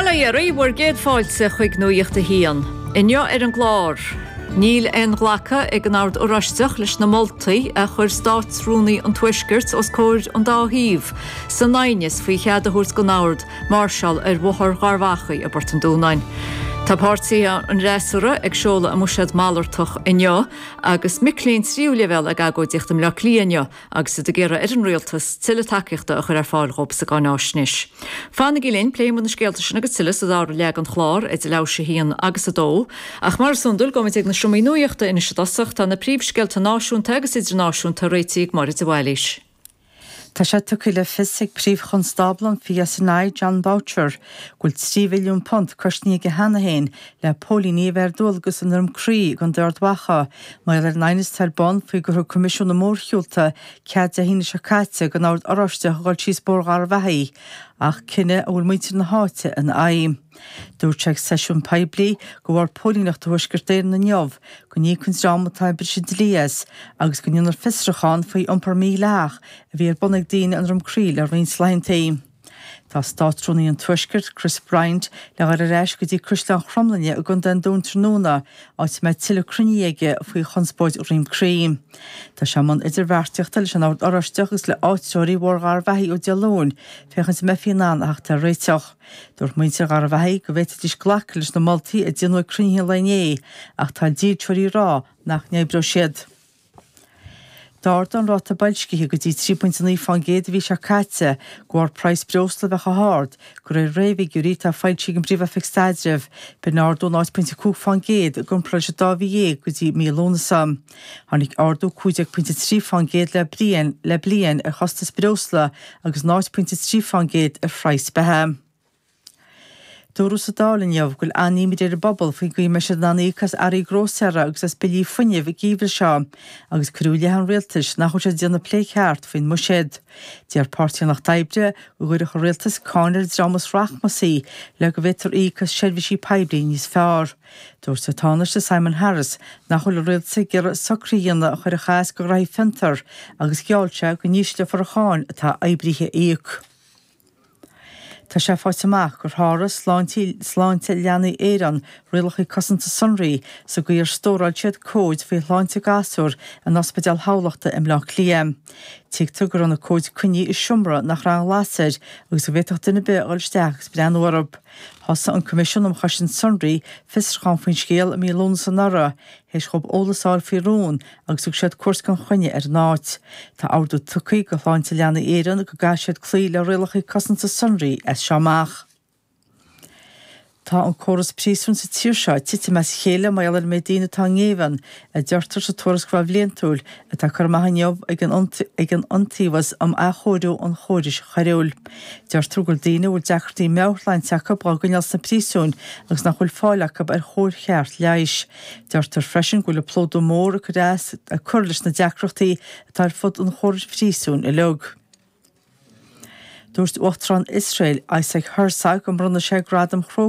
Bail ó Dhia oraibh, bhur gcéad fáilte chuig Nuacht a hAon. Inniu ar an gclár, Níl aon ghlacadh ag an Ord Oráisteach leis na moltaí a chuir Státrúnaí an Tuaiscirt os comhair an dá thaobh san aighneas faoi chead a thabhairt don Ord máirseáil ar Bhóthar Gharbhachaidh i bPort an Dúnáin. Tá páirtithe an fhreasúra ag seoladh a mbuiséad malartach inniu agus mic léinn tríú leibhéal ag agóidíocht i mBleá Cliath inniu agus iad ag iarraidh ar an Rialtas tuilleadh tacaíochta a chur ar fáil dhóibh sa gcáináisnéis. Fanaigí linn, pléifidh muid na scéalta sin agus tuilleadh sa dara leath den chlár, idir leathuair théis a haon agus a dó. Ach mar is iondúil, gabhfaimid ag na seomraí nuachta anois i dtosach. Tá na príomhscéalta náisiúnta agus idirnáisiúnta réitithe ag Máire de Bhailís. Tá sé tugtha le fios ag Príomh-Chonstábla an PSNI, Jon Boutcher, go bhfuil £3 mhilliún cosnaithe aige cheana féin le póilíní a bheith ar dualgas i nDroim Crí i gContae Ard Mhacha mar gheall ar an aighneas atá ar bun faoi gur thug Coimisiún na Mórshiúlta cead Dé hAoine seo caite don Ord Oráisteach a dhul síos Bóthar Gharbhachaidh ach cinneadh a bhfuil muintir na háite ina aghaidh. Dúirt sé ag seisiún poiblí do Bhord Póilíneachta Thuaisceart Éireann inniu go n-íocfaidh an dream atá ag briseadh dlí as agus go ndéanfar fiosrúchán faoi iompar mídhleathach a bhí ar bun ag daoine i nDroim Crí le roinnt laethantaí. Tá Státrúnaí an Tuaiscirt, Chris Bryant, le dhul ar ais go dtí Caisleán Chromghlinne i gContae an Dúin tráthnóna, áit a mbeidh tuilleadh cruinnithe aige faoi chonspóid Dhroim Crí. Tá sé i mbun idirbheartaíochta leis an Ord Oráisteach agus le áitritheoirí Bhóthar Gharbhachaidh ó Dé Luain féachaint an mbeifí in ann a theacht ar réiteach. Dúirt muintir Gharbhachaidh go bhféadfaidís glacadh leis na moltaí a déanadh ag cruinnithe an lae inné ach tá dílseoirí ag rá nach n-oibreoidh siad. D'ardaigh an ráta boilscithe go dtí 3.9% an mhí seo caite de bharr praghas breosla a bheith chomh hard, de réir réamhfhigiúirí atá foilsithe ag an bPríomh-Oifig Staidrimh. B'in ardú 0.5% i gcomparáid leis an dá mhí dhéag go dtí mí Lúnasa. Tháinig ardú 15.3% le bliain le bliain ar chostas breosla agus 0.3% ar phraghas beatha. Dúradh sa Dáil inniu go bhfuil an-imní ar an bpobal faoin gcaoi a mbeidh siad in ann íoc as earraí grósaera agus as billí fuinnimh an geimhreadh seo agus cuireadh i leith an rialtais nach bhfuil siad ag déanamh plé ceart faoin mbuiséad. Deir Páirtí an Lucht Oibre go gcuirfeadh an rialtas cáin ar an dream is rachmasaí le go bhféadfar íoc as seirbhísí poiblí níos fearr. Dúirt an Tánaiste Simon Harris nach bhfuil an rialtas ag iarraidh socruithe a dhéanamh a chuirfeadh as do ghraithí fiontar agus gheall sé go n-ísleofar an cháin atá oibrithe a íoc. Tá sé faighte amach gur sháraigh Sláinte Leanaí Éireann rialacha cosanta sonraí sa gcaoi ar stóráil siad comhaid faoi shláinte gasúr in Ospidéal Thamhlachta i mBleá Cliath. Tuigtear go raibh na comhaid coinnithe i seomra nach raibh aon ghlas air agus go bhféadfadh duine ar bith a dhul isteach agus breathnú orthu. Thosaigh an Coimisiún um Chosaint Sonraí fiosrúchán faoin scéal i mí Lúnasa anuraidh, théis dhóibh eolas a fháil faoi rún agus thug siad cuairt gan choinne ar an áit. Tá ordú tugtha do Shláinte Leanaí Éireann go gcaithfidh siad cloí le rialacha cosanta sonraí as seo amach. Tá an córas príosúin sa tír seo ag titim as a chéile mar gheall ar an méid daoine atá i ngéibheann, a deirtear sa tuarascáil bhliantúil atá curtha amach inniu ag an ag an Iontaobhas um Athchóiriú an Chórais Choiriúil. Deirtear go bhfuil daoine a bhfuil deacrachtaí meabhairshláinte acu á gcoinneáil sna príosúin agus nach bhfuil fáil acu ar chóir cheart leighis. Deirtear freisin go bhfuil an plódú mór ag cur as ag cur leis na deacrachtaí atá ar fud an chórais phríosúin uilig. Dúirt Uachtarán Iosrael, Isaac Herzog, go mbronnfaidh sé Gradam Chróga.